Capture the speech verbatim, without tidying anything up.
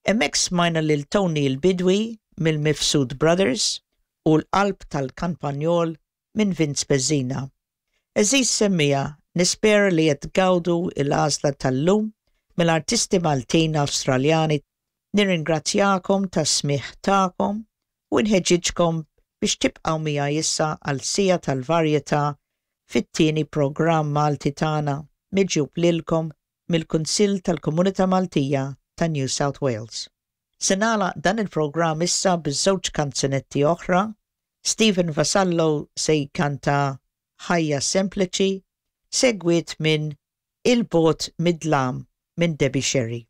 Hemmhekk smajna lil Tony l-Bidwi mill-Mifsud Brothers u l-Qalb tal-Kampanjol minn Vince Bezzina. Għeżież semmiegħa, nispera li qed tgawdu l-għażla tal-lum mill-artisti Maltin Awstraljani. Nirringrazzjakom tas-smigħ tagħkom u nħeġġiġkom biex tibqgħu miegħi issa għal siegħa tal-varjetà fit-tieni programm Malti tagħna, miġjub lilkom mill-Kunsill tal-Komunità Maltija ta' New South Wales. Se nagħlaq dan il-programm issa biż-żewġ kanzunetti oħra. Stephen Vassallo se jkanta "Ħajja Sempliċi", segwit minn "Il Bogħod Mid-Dlam" minn Debbie Sherry.